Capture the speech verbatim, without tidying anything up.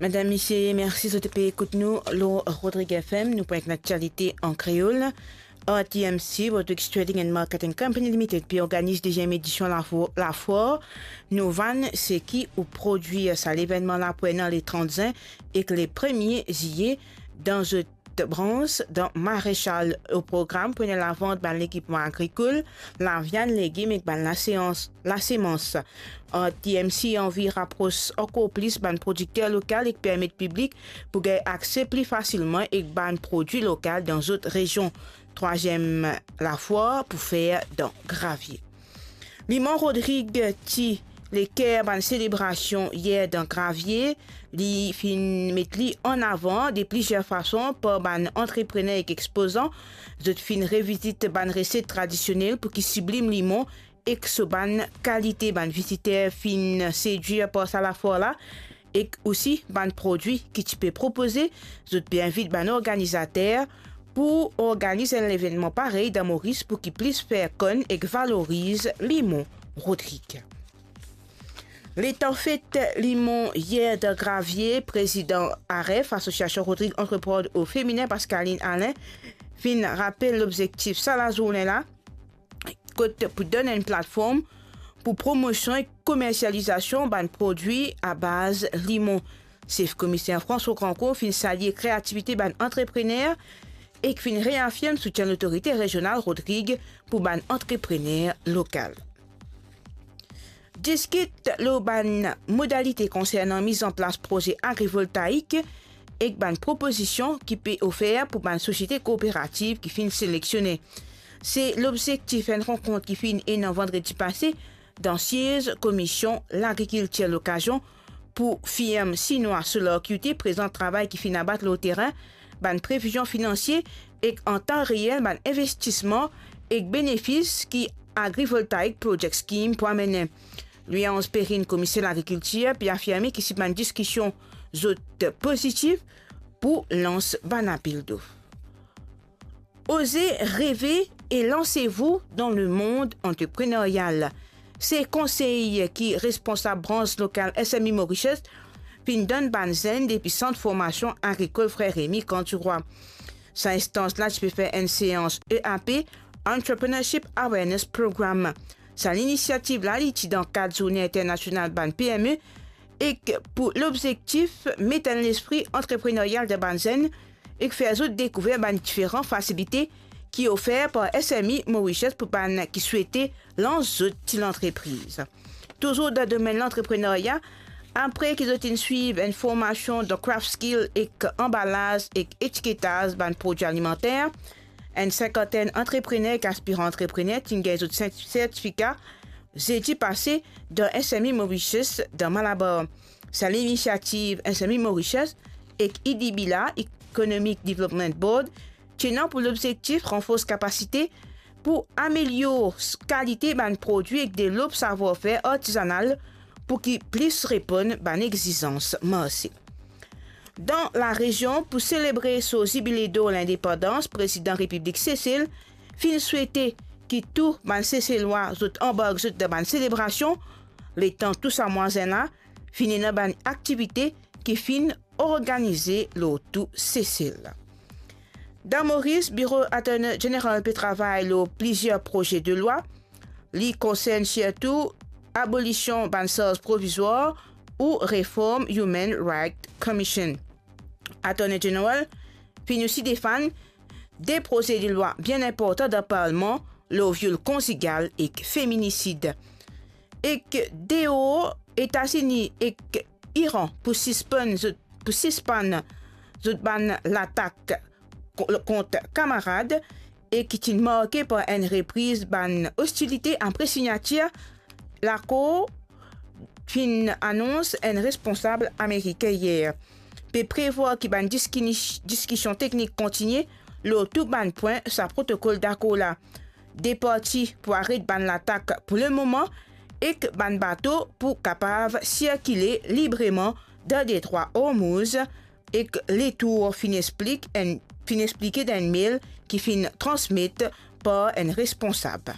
Medam, misie, mersi zot pe ekout nou lor Rodrig F M, nou pou enn aktialite an kreol. R T M C, Rodrigues Trading and Marketing Company Limited, pe organiz deziem edision lafo-, lafwar Nou vann seki ou prodwir. Sa levennman la pou ena le trant zin ek le premie ziye dan zot brans dan Marechal. O program pou ena lavant bann lekipman agrikol, laviann, legim ek bann laseans, lasemans. R T M C anvi rapros ankor plis bann prodikter lokal ek permet piblik pou gagn akse pli fasilman ek bann prodwi lokal dan zot rezion. Trwaziem lafwar pou fer dan Gravie. Limon Rodrig ti leker bann selebrasion yer dan Gravie. Li finn met li an avan de plizier fason par bann antreprener ek ekspozan. Zot finn revizit bann reset tradisionel pou ki siblim limon ek so bann kalite. Bann viziter finn sedwir par sa lafwar la, ek osi bann prodwi ki ti pe propoze. Zot pe invit bann organizater pou organiz enn levennman parey dan Moris pou ki plis fer konn ek valoriz limon Rodrig. Letan fet limon yer dan Gravie, prezidan AREF, Association Rodrigues Entrepreneurs au Féminin, Pascaline Alain, finn rapel lobzektif sa lazourne la, kot pou donn enn platform pou promosion ek komersializasion bann prodwi a baz limon. Sef Komiser François Grandcourt finn salie kreativite bann antreprener ek finn reafirm soutien Lotorite Rezional Rodrig pou bann antreprener lokal. Diskit lor bann modalite konsernan miz an plas proze agrivoltaik ek bann propozision ki pe ofer pou bann sosiete kooperativ ki finn seleksionen. Se lobzektif enn rankont ki finn ena vandredi pase dan siez Komisie Lagrikiltir, lokazion pou firm sinwa Solar Q T prezant travay ki finn abat lor terin, bann previzion finansie ek an tan reel bann investisman ek benefis ki Agrivoltaic Project Scheme pou amene. Louis-Ange Perrine, Komiser Lagrikiltir, pe afirme ki si bann diskision zot pozitif, pou lans bann apel dof. Osez rêver et lancez-vous dans le monde entrepreneurial. Se konsey ki responsab brans lokal S M E Mauritius finn donn bann zenn depi Sant Formasion Agrikol Frer Remy Kan Dirwa. Sa instans la ti pe fer enn seans E A P, Entrepreneurship Awareness Program. Sa linisiativ la, li ti dan kad Zourne Internasional bann P M E, ek pou lobzektif met enn lespri antrepreneryal dan bann zenn ek fer zot dekouver bann diferan fasilite ki ofer par S M E Mauritius pou bann ki swete lans zot ti lantrepriz. Touzour dan domenn lantreprenerya, apre ki zot inn swiv enn formasion dan craft skill ek anbalaz ek etiketaz bann prodwi alimanter, enn sinkantenn antreprener ek aspiran antreprener ti gagn zot sertifika zedi pase dan S M E Mauritius dan Malabar. Sa linisiativ S M E Mauritius ek I D B la, Economic Development Board, ti ena pou lobzektif ranfors kapasite pou amelior s-, kalite bann prodwi ek devlop savwar-fer artizanal pou ki plis reponn bann exizans marse. Dan larezion, pou selebre so zibile dor lindepandans, Prezidan Repiblik Sesel finn swete ki tou bann Seselwa zot anbark zot dan bann selebrasion, letan tou sa mwa zenn la finn ena bann aktivite ki finn organize lor tou Sesel. Dan Moris, Biro Attorney General pe travay lor plizier proze de lwa. Li konsern sirtou abolision bann sarz provizwar ou reform Human Rights Commission. Attorney General finn osi defann de proze de lwa bien inportan dan Parlman lor viol konzigal ek feminisid. Ek deor, Etazini ek Iran pou sispann zot, pou sispann zot bann latak ko-, kont kamarad e ki ti marke par enn repriz bann ostilite apre signatir lakor, finn anons enn responsab amerikin yer. Pe prevwar ki bann diskini-, diskision teknik kontinie lor tou bann pwin sa protokol dakor la. De parti pou aret bann latak pou lemoman ek bann bato pou kapav sirkile libreman dan Detrwa Hormuz, ek letour finn explik enn, finn explike dan enn mail ki finn transmet par enn responsab.